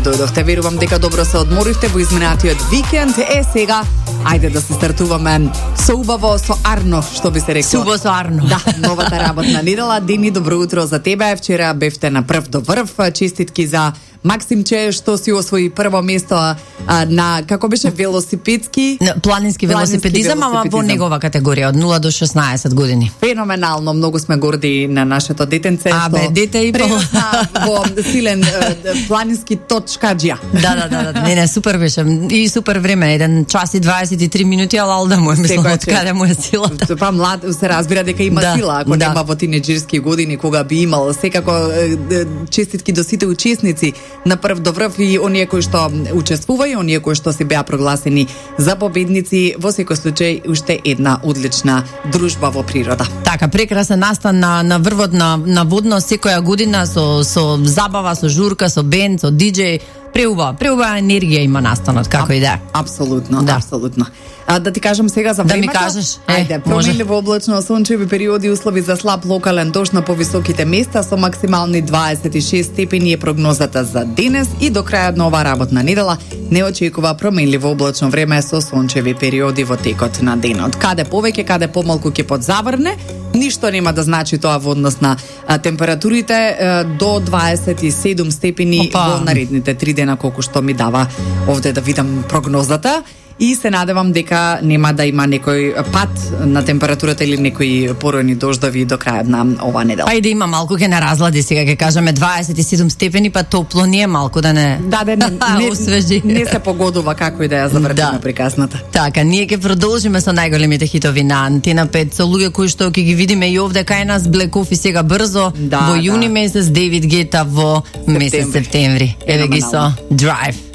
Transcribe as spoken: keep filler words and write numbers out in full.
Дојдовте, верувам дека добро се одморивте во изминатиот викенд. Е, сега, ајде да се стартуваме со убаво, со арно, што би се рекло. Субо со арно. Да, новата работна недела. Дени, добро утро за тебе. Вчера бевте на прв до врв. Честитки за Максимче, што си освои прво место а, на, како беше, велосипедски... Планински велосипедизам, ама во негова категорија, од нула до шеснаесет години. Феноменално, многу сме горди на нашето детенце. А, бе, дете и по... во силен планински точкаджија. Да, да, да, да, не, не, супер беше. И супер време, еден час и дваесет и три минути, ала алда му е, мислам, од каде му е силата. Па млад, се разбира дека има да, сила, ако да. нема во тинеџерски години, кога би имал. Секако, честитки до сите учесници на прв до врв и оние кои што учествува и оние кои што се беа прогласени за победници. Во секој случај, уште една одлична дружба во природа. Така, прекрасен настан на, на врвот на, на водно секоја година со, со забава, со журка, со бенд, со диџеј. Преубава, преубава енергија има настанот, како и да. Апсолутно, да. апсолутно. А, да ти кажам сега за да времето. Да ми кажеш. Е, Ајде, променливо облачно, сончеви периоди, услови за слаб локален дожд на повисоките места со максимални дваесет и шест степени е прогнозата за денес и до крајот на оваа работна недела не очекува променливо облачно време со сончеви периоди во текот на денот. Каде повеќе, каде помалку ќе подзаврне, ништо нема да значи тоа во однос на а, температурите а, до дваесет и седум степени Опа. Во наредните три дена, колку што ми дава овде да видам прогнозата. И се надевам дека нема да има некој пат на температурата или некои поројни дождови до крајот на оваа недела. Па и да има малку ке на разлади, сега ќе кажеме дваесет и седум степени, па топло не е малку да не да, да, не, не, освежи. Не се погодува како и да ја завртиме да. Приказната. Така, ние ќе продолжиме со најголемите хитови на Антена пет, со луѓе кои што ќе ги видиме и овде кај нас, Black Coffee сега брзо, да, во јуни да. месец, Дейвид Гета во месец септември. Еве ги со Drive.